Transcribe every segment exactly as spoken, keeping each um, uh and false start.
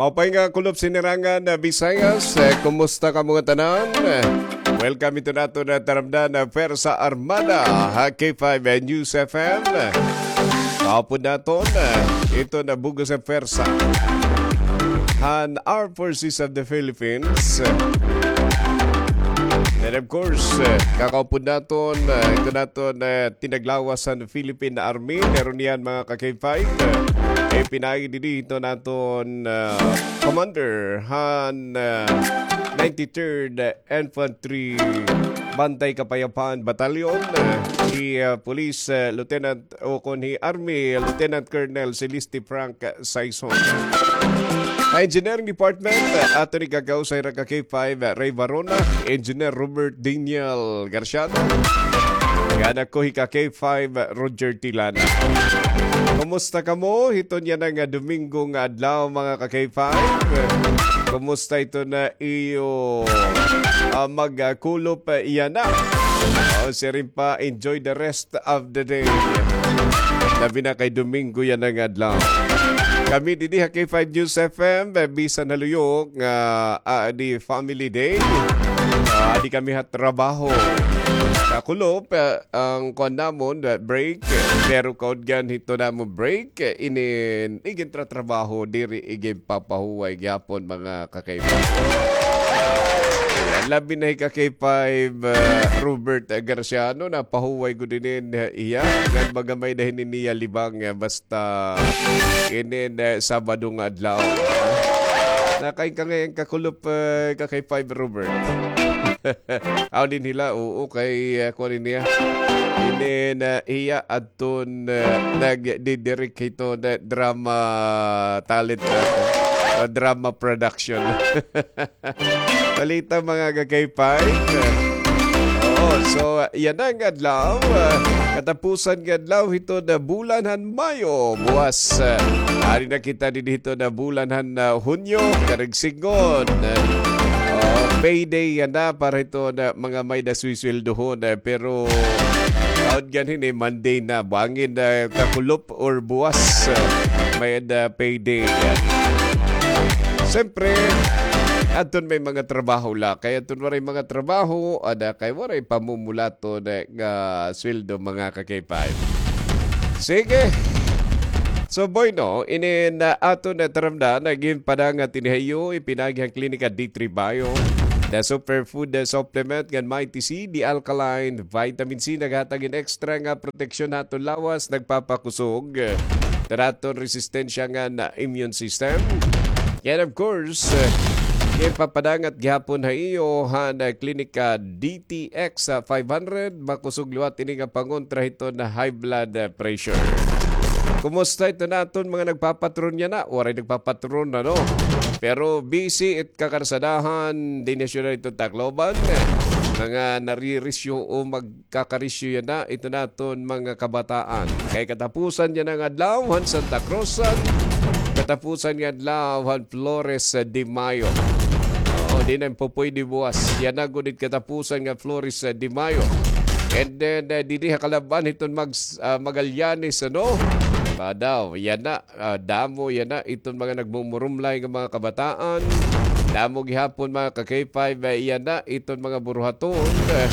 Maupay nga kulop, Sinirangan Visayas. Eh, kumusta kamo ngatanan? Eh, welcome ito naton nga taramdan nga Pwersa Armada ha K five News F M. Kahapon naton, eh, ito nga bug-os nga pwersa han Armed Forces of the Philippines. And of course, eh, kakaupod naton, eh, ito naton, eh, tinaglawas han Philippine Army, meron niyan, mga ka-K five, eh, ipinaagi didi ito naton, eh, commander han, eh, ninety-third Infantry Bantay Kapayapaan Battalion, eh, si, eh, Police, eh, Lieutenant o kon hi Army Lieutenant Colonel Celeste Frank Saison. Ha Engineering Department, aton igkakausay hira ka K five, Ray Varona, Engineer Robert Daniel Garciano, ngan ako hi ka K five, Roger Tilana. Kumusta kamo hiton yana nga Domingo nga adlaw, mga ka K five? Kumusta ito nga iyo, ah, magkulop, ah, yana? O, siring pa, enjoy the rest of the day. Labi na kay Domingo yana nga adlaw. Kami didi ha K five News F M, eh, bisan ha luyo nga, ah, di family day. Ah, di kami ha trabaho. Kakulop, eh, an kuan namon, eh, break. Pero kaudgan hito namon break, eh, inin igintratrabaho, diri iginpapahuway gihapon, mga ka-K five. Labi na hi ka K five, ah, Robert Garciano, napahuway gud inin, ah, iya. Ngan magamay na hini niya libang, ah, basta inin, ah, Sabado nga adlaw. Nakain ka ngay-an kakulop, ah, ka K five, Robert. Aw, din hila, oo, kay, ah, kuan niya. Inin, ah, iya, adton, ah, nagdidirect hito na drama talent nato. O, drama production. Balita, mga ka-K five. Oo, so, yana nga adlaw, ah, katapusan nga adlaw hito nga bulan han Mayo. Buwas, ah, ari na kita didi hito nga bulan han, ah, Hunyo, karuyag sidngon. Ah, payday yana para hito nga mga may-ada swisweldohon, ah, pero kaudgan hini, Monday na, bangin, ah, kakulop or buwas, ah, may-ada payday. Siyempre, adton may mga trabaho la. Kay adton waray mga trabaho, ada kay waray pamumulaton, eh, nga sweldo, mga ka-K five. Sige. So, bueno, inin, ah, aton, ah, taramdan, ah, ginpadangat ini ha iyo, ipinaagi han Klinika D three Bio, the superfood, ah, supplement, ngan Mighty C, the alkaline vitamin C, naghatag hin extra nga proteksyon ha aton lawas, nagpapakusog, eh, han aton resistensya ngan immune system. And of course, eh, ipapadangat gihapon ha iyo han, ah, Klinika D T X, ah, five hundred, makusog liwat ini nga pangontra hiton high blood, ah, pressure. Kumusta iton aton mga nagpapatron yana? Waray nagpapatron, ano? Pero busy it kakarsadahan, dinhi ha syudad hiton Tacloban. Mga naririsyo o magkakarisyo yana, iton aton mga kabataan. Kay katapusan yana nga adlaw han Santa Cruzan, katapusan nga adlaw han Flores de Mayo. Oo, di na pupuydi buwas. Yana gud it katapusan nga Flores de Mayo. And then, uh, didi ha kalab-an hiton Mag-, uh, Magallanes, ano? Padaw, yana, ah, damo yana iton mga nagmumurumlay nga mga kabataan. Damo gihapon, mga ka-K five, ah, yana iton mga buruhaton. Eh,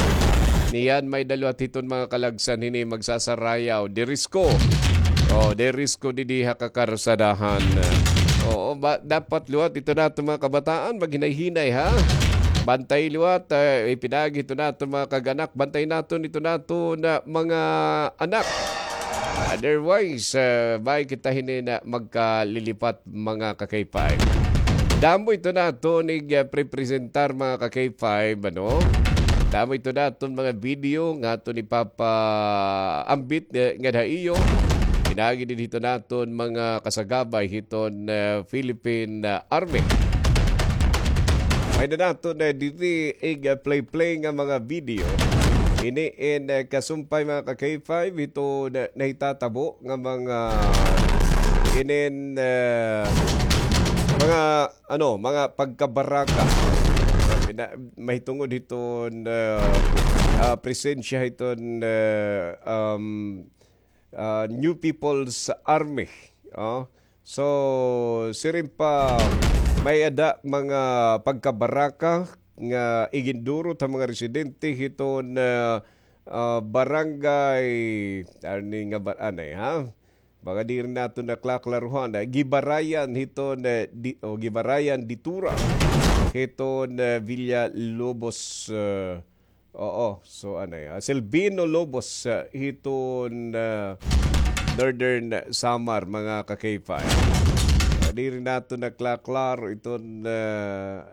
niyan may-ada liwat hiton mga kalagsan hini magsasarayaw. Dirisko. Oh, dirisko didi ha kakarsadahan. Oo, ba, dapat liwat iton naton mga kabataan maghinay-hinay, ha? Bantay liwat, eh, ipinaagi iton naton mga kag-anak. Bantay naton iton naton, ah, mga anak. Otherwise, ah, bangin kita hini nga magkalilipat, mga ka-K five. Damo iton naton ig, ah, prepresentar, mga ka-K five, ano? Damo iton naton mga video nga aton ipapaambit, eh, ngada ha iyo. Pinaagi didi hiton naton mga kasagabay hiton, ah, Philippine, ah, Army. May-ada naton, eh, didi ig, ah, play-play nga mga video. Ini in, eh, kasumpay, mga ka-K five, hito na, nahitatabo nga mga inin, eh, mga, ano, mga pagkabaraka. Pina-, mahitungod hiton, eh, ah, presensya hiton, eh, um, ah, New People's Army. Oh. So, siring pa, May-ada mga pagkabaraka nga igindurot ha mga residente hiton, ah, ah, barangay, ano nga bar-, anay, ha? Baka diri naton naklaklaruhan, ah, Gibarayan hiton, ah, di, o Gibarayan Ditura hiton, ah, Villalobos, ah, Oo, so anay, ah, Silvino Lobos, ah, hiton, ah, Northern Samar, mga ka-K five. Ah, diri naton naklaklaro iton, ah,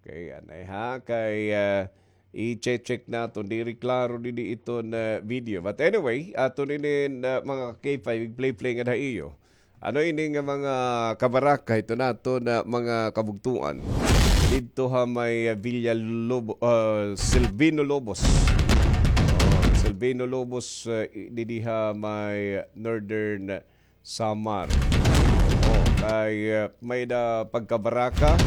kay anay ha, kay, ah, i-check-check naton, diri klaro didi iton, ah, video. But anyway, aton ini, ah, mga ka-K five, play-play nga ha iyo. Ano ini nga mga kabaraka, ito naton mga kabugtuan? Didto ha may, ah, Villa Lobo, ah, Silvino Lobos. Oh, Silvino Lobos, ah, i-, didi ha may Northern Samar. Oh, kay, ah, may-ada pagkabaraka,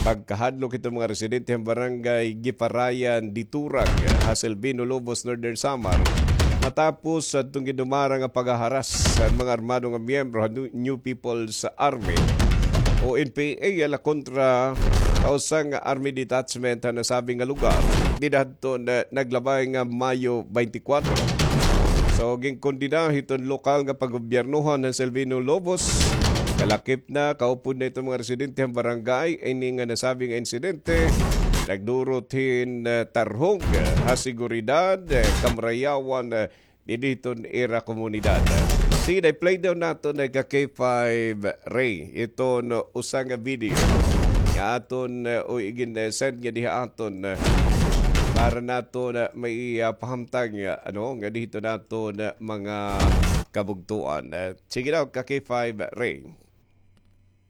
pagkahadlok iton mga residente han barangay Giparayan, Diturag, ah, ha Silvino Lobos, Northern Samar. Matapos adtong gindumara nga paghaharas han mga armado nga miyembro han New, New People's Army o N P A ala kontra ha usa nga army detachment ha nasabi nga lugar dida hadton, ah, naglabay nga Mayo twenty-four. So, ginkondena hiton lokal nga paggobyernohan han Silvino Lobos. Kalakip na, kaupod na iton mga residente han barangay ini nga nasabi nga insidente. Nagdurot hin, ah, tarhog, ah, ha seguridad, ah, kamarayawan, ah, didi hiton ira komunidad. Sige, i-play daw naton nga ka-K five Ray iton usa nga video nga aton, uh, o igin, uh, send nga diha aton, uh, para naton, uh, may, uh, pahamtang, uh, ano, nga didto naton, uh, mga kabugtuan. Uh, sige daw, ka-K five Ray.